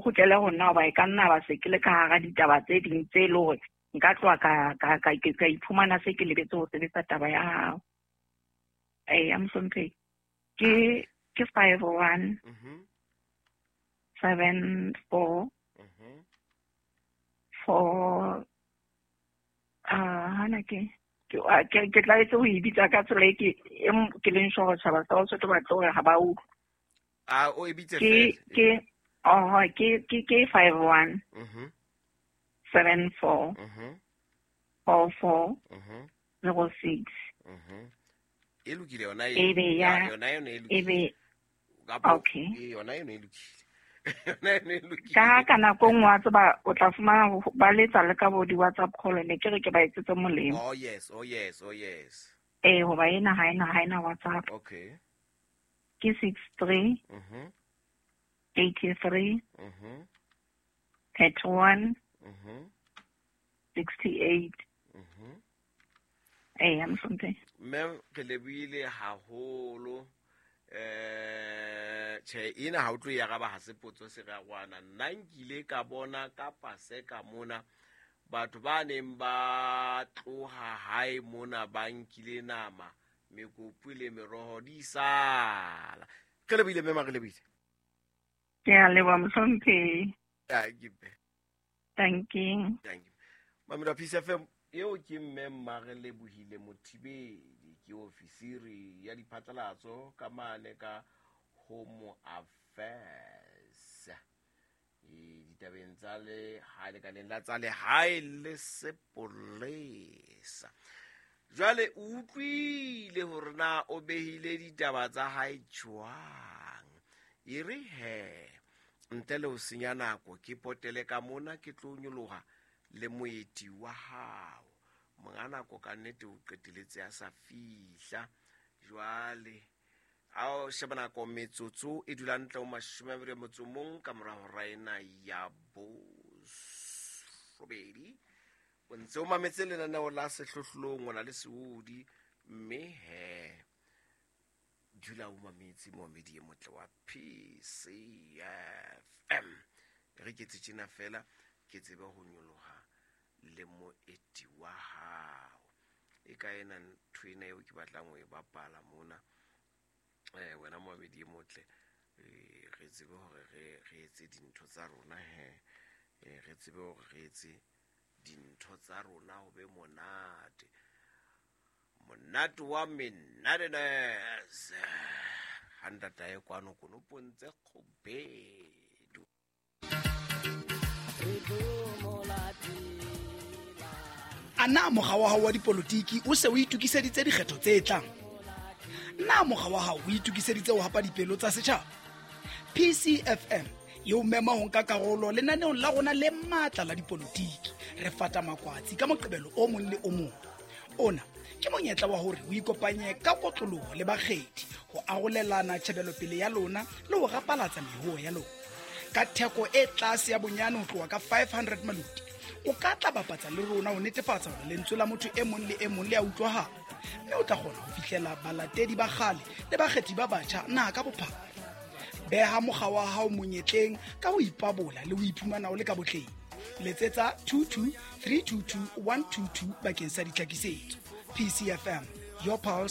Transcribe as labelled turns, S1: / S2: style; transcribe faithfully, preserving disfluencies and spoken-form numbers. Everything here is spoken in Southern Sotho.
S1: kgutlele ho nna hoba e ka nna ba se ke le ka hara ditaba tse ding tse e le hore nka tloha ka ka ka ka iphumana se ke lebetse ho sebetsa taba ya hao. Eya mohlomphehi. Ke ke five one
S2: Mhm.
S1: seven four
S2: Mhm.
S1: four ah hana ke ke a- ke ke tlaetse ho e bitsa ka tsela e ke e m- ke leng sure hore tjhaba sa Basotho ba tlo hore ha ba utlwe.
S2: A o e bitse
S1: Ke
S2: fela.
S1: ke oho ke ke ke five one
S2: Mhm.
S1: seven four
S2: Mhm.
S1: four four
S2: Mhm.
S1: zero six.
S2: Mhm. E lokile yona
S1: E
S2: e.
S1: be
S2: Ya
S1: ya
S2: yona yona e lokile.
S1: e be
S2: Kapa
S1: okay.
S2: e yona yona e lokile. Yona yona e
S1: Ka
S2: lokile.
S1: ka nako e nngwe wa tseba o tla fumana ho- ba letsa le ka bo di-WhatsApp call ne ke re ke ba etsetse molemo.
S2: Oh yes, oh yes, oh yes.
S1: Eh hoba ena ha ena ha ena WhatsApp.
S2: Okay.
S1: Ke six three
S2: Mhm.
S1: eighty three
S2: Mhm.
S1: thirty one
S2: Mhm.
S1: sixty eight.
S2: Mhm.
S1: Eya mohlomphehi.
S2: Mme re lebohile haholo. Eh tjhe ena ha o tlo e araba ha se potso se rarwana. Nna nkile ka bona ka Paseka mona batho ba neng ba tloha hae mona ba nkile nama, mekopu le meroho di sala. Re lebohile mme re lebohile.
S1: Ke a leboha mohlomphehi.
S2: Thank you.
S1: Thank you.
S2: Thank you. Mamela Peace F M eo ke mme Mmarelebohile Mothibedi, ke ofisiri ya diphatlalatso ka mane ka Home Affairs. E ditabeng tsa lehae lekaleng la tsa lehae le sepolesa. Jwale o utlwile hore na o behile ditaba tsa hae jwang. E re he ntle le ho senya nako ke potele ka mona ke tlo nyoloha le moeti wa hao. Monga nako ka nnete o qeteletse a sa fihla. Jwale ha o sheba nako metsotso e dula ntle ho mashome a mabedi a motso o mong ka mora hora ena ya borobedi. O ntse o mametse lenaneo la Sehlohlolong o na le Seodi, mme he dula o mametse momedi e motle wa P C F M. Re ke etse tjena fela ke tsebe ho nyoloha le moeti wa hao. E ka ena ntho ena eo ke batlang ho e bapala mona. Eh, wena momedi e motle, eh, re tsebe hore re, re etse dintho tsa rona he. Eh, re tsebe hore re etse dintho tsa rona ho be monate. Monate wa menatenes. Ha ntatae kwano konopong tse kgubedu.
S3: A na mokga wa hao wa dipolotiki o se o itokiseditse dikgetho tse tlang? Na mokga wa hao o itokiseditse ho hapa dipelo tsa setjhaba? P C F M e o mema ho nka karolo lenaneong la rona le matla la dipolotiki. Re fata makwatsi ka Moqebelo o mong le o mong. Ona ke monyetla wa hore o ikopanye ka kotloloho le bakgethi ho arolelana tjhebelopele ya lona le ho rapalatsa mehoo ya lona. Ka theko e tlase ya bonyane ho tloha ka five hundred maluti, o ka tla bapatsa le rona ho netefatsa hore lentswe la motho e mong le e mong le a utlwahala, mme o tla kgona ho fihlela balatedi ba kgale le bakgethi ba batjha naha ka bophara. Beha mokga wa hao monyetleng ka ho ipabola le ho iphumana o le ka botleng. Letsetsa two two three two two one two two bakeng sa ditlhakisetso. P C F M, your pulse,